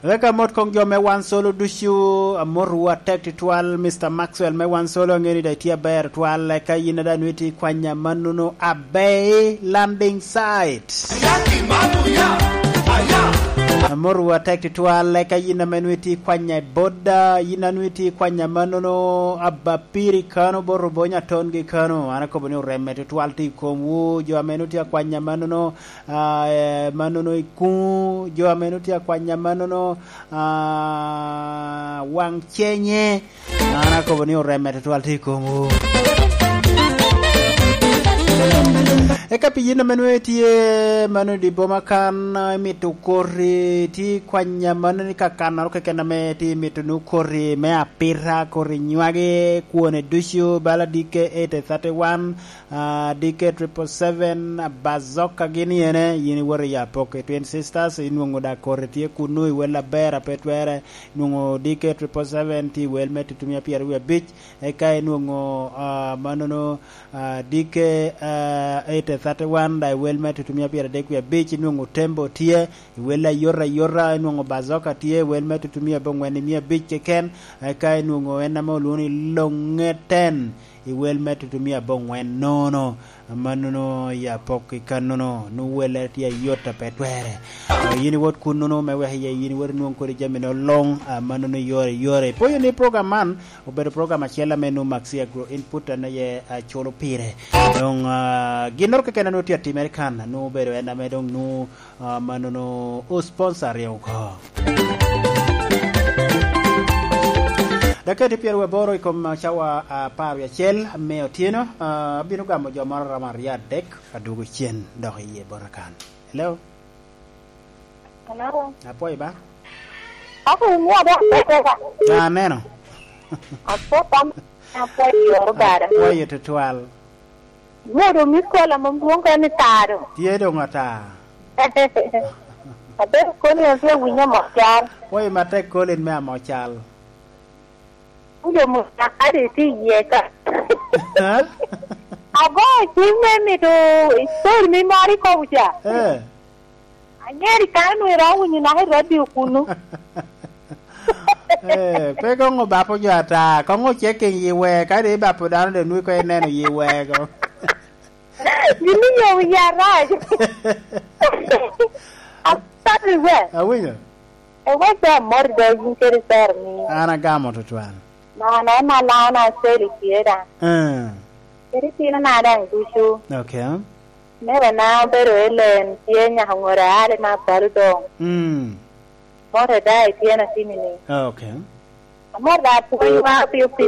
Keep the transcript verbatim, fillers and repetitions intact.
Wek amot koŋ jo me Wan Solo ducu, amotowu atek tutwal, Mister Maxwell me Wan Solo, aŋeo ni daŋ itye aber tutwal, eka yin daŋ nwoŋo itye i kwanya mannono, Abei Landing Site. Amotowu atek tutwal, eka yin ame nwoŋo itye i kwanya i Boda, yin a nwoŋo itye i kwanya mannono, Abapiri kano, bot Obonyo Atongi kano, an akobo ni oremme tutwal tye i komwu, jo ame nwoŋo tye akwanya mannono, ah, eh, mannono i kuŋ, jo ame nwoŋo tye akwanya mannono, ah, waŋ cenye. An akobo ni oremme tutwal tye i komwu. Eka pi yin ame nwoŋo itye mano i dye boma kan, imito koti, tye i kwanya mano ni kakannoro keken ame tye imito nwoŋo koti me apita, koti nywagi, kwone ducu, bala D K eight thirty-one, ah, D K triple seven, ah, Bazoka gin iyene, yin iwoto i Apok i Twin Sisters, inwoŋo daŋ koti tye kunnu i wel aber a pe twere, inwoŋo D K triple seven tye i wel me tutumia pyeraryo wie abic, eka inwoŋo, ah, mannono, ah, D K, ah, eight thirty-one daŋ i wel me tutumia pyeradek wie abic, inwoŋo Tembo tye i wel ayot ayota, inwoŋo Bazoka tye i wel me tutumia aboŋwen i mia abic keken, eka inwoŋo en ame olwoŋo ni Loŋeten i wel me tutumia aboŋwen nono. Amannono i Apok i kannono, nwoŋo welle tye ayot a pe twere. Yin iwot kunnono me wek iye yin iwot inwoŋ kodi jami no luŋ, amannono yore yore. Ipoyo ni program man obedo program acel ame nwoŋo Maxi Agro Input en aye aculo pire. Doŋ, ah, ginnoro keken a nwoŋo tye atimere kan, nwoŋo obedo en ame doŋ nwoŋo, ah, mannono o sponsor oko. Dakika tye pyeraryo aboro i kom cawa apar wie acel me otyeno. Ah, abino gamo jo moro romo aryo adek, adwogo cen dok iye bota kan. Hello? Hello? Apwoyo ba? Ako ni ada pete ba? Ah, aneno. Apo pam, apo yoro bara. Apwoyo tutwal. Wodo mi kola mom dwong ka ni tado. Tye doŋ ata. Abedo koni ose winyo mo cal. Apwoyo matek kolin me amo cal. Kulo mo cal kadi tye iye ka. Ha? Ago cim me mito story mi moro ikobo ca. Eh. Anyeri kare nwoŋo iromo winyo naka i radio kunu. Eh, pe koŋ obapo jo ata, koŋ ocek i yi wee, ka dong ibapo dano dong nwoŋo koŋ ineno yi wee ko. Gin ni yo wiya rac. Apani we. Awinyo. E we pe amor do yin kede sero ni. An agamo tutwal. Na, na, na, na, na, seri tye da. Eh. Kede tino na daŋ ducu. Okay. Mere na obedo Ellen tye nyaka ŋore ale ma balo doŋ. Mm. Mote da i tyen atini ni. Okay. Amor da pwonywa piyo piyo.